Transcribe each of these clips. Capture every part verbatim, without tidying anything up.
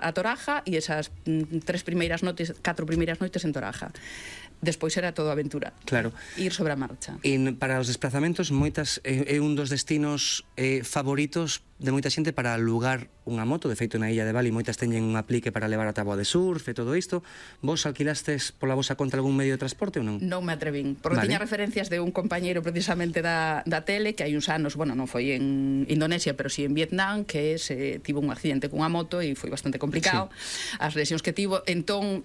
a Toraja e esas mm, tres primeiras noites, catro primeiras noites en Toraja. Despois era todo aventura. Claro. Ir sobre a marcha. E para os desplazamentos, moitas é, é un dos destinos eh, favoritos de moita xente para alugar unha moto. De feito, na illa de Bali moitas teñen un aplique para levar a táboa de surf e todo isto. Vos alquilastes pola vosa conta algún medio de transporte ou non? Non me atrevín, porque Vale. tiña referencias de un compañeiro precisamente da, da tele, que hai uns anos, bueno, non foi en Indonesia, pero si sí en Vietnam, que se tivo un accidente cunha moto e foi bastante complicado. Sí. As lesións que tivo, entón,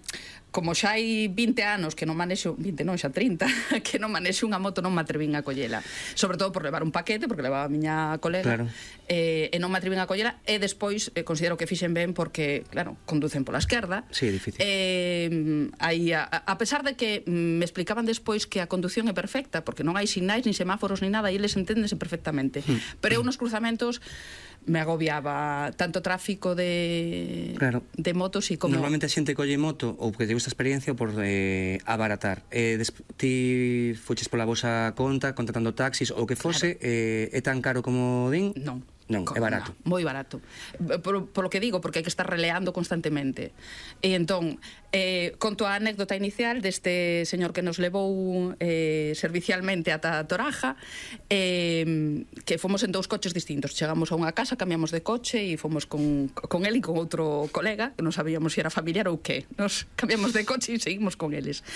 como xa hai vinte anos que non manexo, vinte non, xa trinta, que non manexo unha moto, non me atrevín a collela. Sobre todo por levar un paquete, porque levaba a miña colega, claro. eh, e non me atrevín a collela, e despois eh, considero que fixen ben porque, claro, conducen pola esquerda. Sí, é difícil. Eh, aí, a, a pesar de que me explicaban despois que a conducción é perfecta, porque non hai sinais, ni semáforos, ni nada, e eles enténdense perfectamente. Mm. Pero eu nos cruzamentos me agobiaba tanto tráfico de claro. de motos e como... Normalmente a xente colle moto ou que te gusta experiencia por eh, abaratar. Eh, ti fuches pola vosa conta contratando taxis ou que fose, claro. eh, é tan caro como din? Non. Non, é barato. No, moi barato. Por, por lo que digo, porque hai que estar releando constantemente. E entón, eh, conto a anécdota inicial deste señor que nos levou eh, servicialmente ata Toraja, eh, que fomos en dous coches distintos. Chegamos a unha casa, cambiamos de coche e fomos con, con él e con outro colega, que non sabíamos se era familiar ou que. Nos cambiamos de coche e seguimos con eles.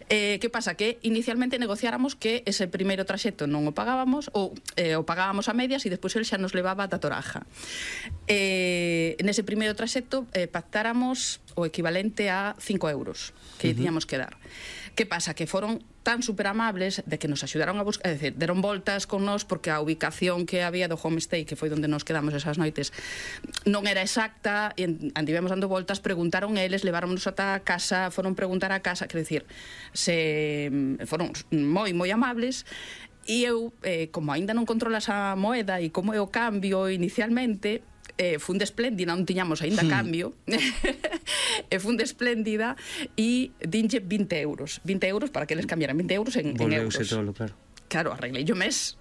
Eh, que pasa? Que inicialmente negociáramos que ese primeiro traxecto non o pagábamos, ou eh, o pagábamos a medias e despois el xa nos levaba ata Toraja. Eh, nese primeiro traxecto eh, pactáramos o equivalente a cinco euros que uh-huh. tiñamos que dar. Que pasa? Que foron tan superamables de que nos axudaron a buscar, é dicir, deron voltas con nós porque a ubicación que había do homestay, que foi onde nos quedamos esas noites, non era exacta, e andivemos dando voltas, preguntaron eles, leváronos ata a casa, foron preguntar a casa, quer dicir, se foron moi, moi amables. E eu, eh, como aínda non controlas a moeda e como é o cambio inicialmente, eh, fun de espléndida, non tiñamos aínda cambio, e fun de espléndida e dinlle vinte euros. vinte euros para que eles cambiaran vinte euros en, en euros. Volveuse todo, claro. Claro, arreglei o mes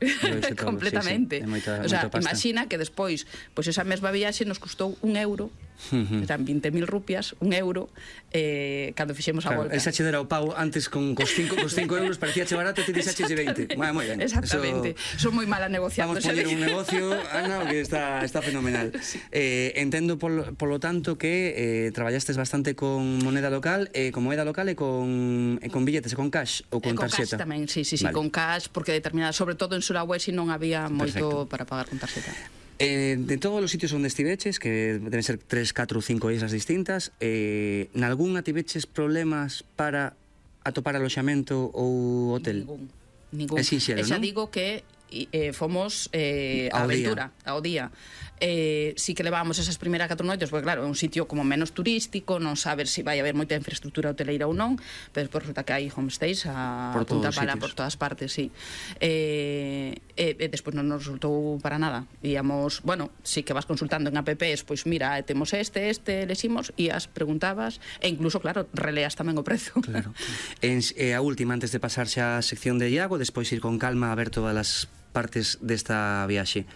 completamente. Sí, sí. Moita, o sea, moita imagina que despois, pois esa mesma viaxe nos custou un euro, uh-huh. eran vinte mil rupias, un euro, eh, cando fixemos a claro, volta. Esa che dera o pau antes con cos cinco euros, parecía che barato, e ti dixaches de vinte. Moi, moi ben. Exactamente. Son moi mala negociando. Vamos a poñer un negocio, Ana, que está, está fenomenal. Sí. Eh, entendo, polo, polo tanto, que eh, traballastes bastante con moneda local, eh, con moneda local e con, e con billetes, e con cash ou con, con tarxeta? Con cash tamén, sí, sí, sí, vale. Con cash, porque determinadas, sobre todo en Sulawesi non había moito para pagar con tarxeta. Eh, de todos os sitios onde estiveches, que deben ser tres, catro, cinco islas distintas, eh, nalgúnha tiveches problemas para atopar aloxamento ou hotel? Ningún, ningún. É sinxelo, non? E xa non? digo que eh, fomos eh, a aventura, ao día. Eh, si que levábamos esas primeiras catro noites, porque claro, é un sitio como menos turístico, non sabes se si vai haber moita infraestructura hoteleira ou non, pero despois resulta que hai homestays a por punta pala, sitios. por todas partes, sí. Eh, e, e despois non nos resultou para nada. Íamos, bueno, si que vas consultando en apps, pois mira, temos este, este, leximos, e as preguntabas, e incluso, claro, releas tamén o prezo. Claro. En, eh, a última, antes de pasar xa a sección de Iago, despois ir con calma a ver todas as partes desta viaxe.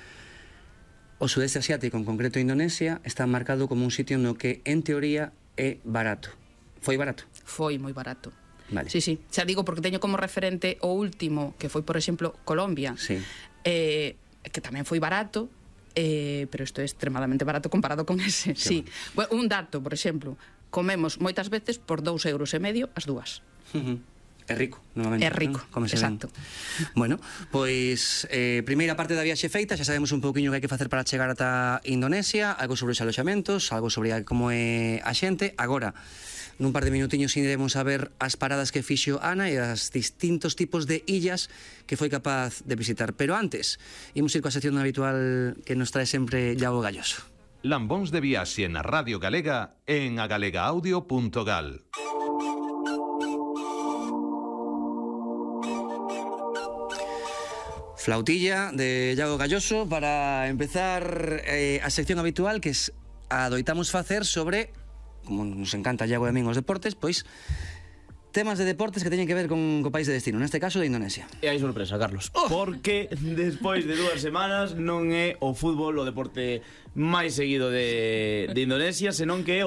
O sudeste asiático, en concreto Indonesia, está marcado como un sitio no que, en teoría, é barato. Foi barato? Foi moi barato. Vale. Sí, sí, xa digo porque teño como referente o último, que foi, por exemplo, Colombia, sí. eh, que tamén foi barato, eh, pero isto é extremadamente barato comparado con ese. Sí. Bueno, un dato, por exemplo, comemos moitas veces por dous euros e medio as dúas. Uh -huh. É rico, novamente. É rico, ¿no? Exacto. Ben. Bueno, pois, eh, primeira parte da viaxe feita, xa sabemos un pouquiño que hai que facer para chegar ata Indonesia, algo sobre os aloxamentos, algo sobre como é a xente. Agora, nun par de minutiños iremos a ver as paradas que fixo Ana e os distintos tipos de illas que foi capaz de visitar. Pero antes, imos ir coa sección habitual que nos trae sempre Iago Galloso. Lambóns de viaxe na Radio Galega en agalegaudio punto gal. Flautilla de Iago Galloso para empezar eh, a sección habitual que es, adoitamos facer sobre, como nos encanta Iago e a min os deportes, pois temas de deportes que teñen que ver con o país de destino, neste caso de Indonesia. E hai sorpresa, Carlos, oh! Porque despois de dúas semanas non é o fútbol o deporte máis seguido de, de Indonesia, senón que é